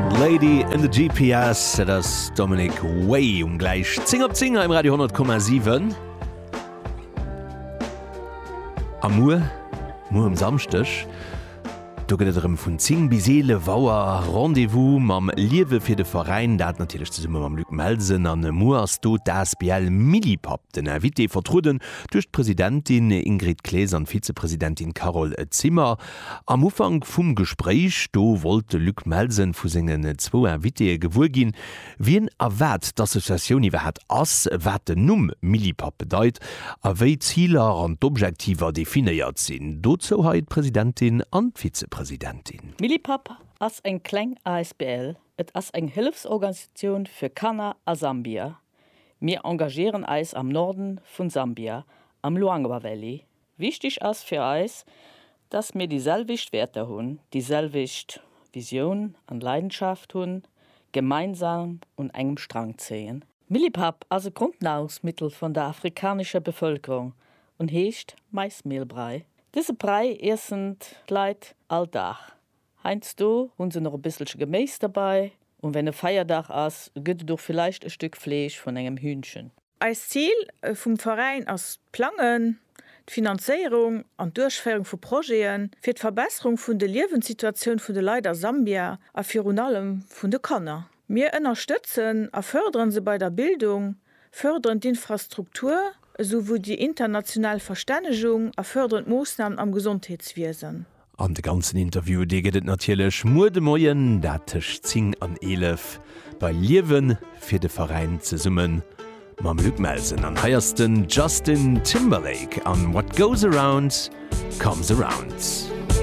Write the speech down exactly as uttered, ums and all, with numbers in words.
Lady in the GPS, dat ass Dominic Way um gläich zéng op zéng hei um Radio honnert Komma siwen. A muer, muer um Samschdeg, do gëtt et erëm vun zéng bis eelef Auer Rendez-vous mam Liewe fir de Veräin, dat natierlech zesumme mam Luc Melsen. An muer ass do d'Asbl Millipap den Invité, vertrueden duerch d'Presidentin Ingrid Clees an d'Vizepresidentin Carole Zimmer. Am Ufank vum Gespréich, do wollt de Luc Melsen vu sengen zwou Invitéë gewuer ginn, wien a wat d'Associatioun iwwerhaapt ass, wat den Numm Millipap bedeit a wéi d'Ziler an d'Objektiver definéiert sinn. Dozou hei d'Presidentin an d'Vizepresidentin. Millipap ass eng kleng asbl. Et ass eng Hëllefsorganisatioun fir Kanner a Sambia. Mir engagéieren eis am Norden vun Sambia, am Luangwa Valley. Wichteg ass fir eis, dass mir déi selwecht Wäerter hunn, déi selwecht Visioun an Leidenschaft hunn, gemeinsam un engem Strang zéien. Millipap ass e Grondnahrungsmittel vun der afrikanescher Bevëlkerung und heescht Maismehlbrei. Dëse Brei iessen d'Leit all Dag. Heiansdo hunn se nach e bësselche Geméis derbäi und wenn e Feierdag ass, gëtt et och villäicht e Stück Fleesch vun engem Hühnchen. Eist Zil vum Veräin ass d'Plangen, d'Finanzéierung an d'Duerchféierung vu Projete fir d'Verbesserung vun de Liewenssituatioun vun de Leit a Sambia a virun allem vun de Kanner. Mir ënnerstëtzen a fërderen se bei der Bildung, fërderen d'Infrastruktur esou wéi déi international Verstännegung a fërderen d'Moossnamen am Gesondheetswiesen. An de ganzen Interview, dee gëtt et natierlech muer de Moien, dat tëscht zéng an eelef, bei Liewe fir de Veräin zesumme mam Luc Melsen. An hei ass den Justin Timberlake an What Goes Around Comes Around.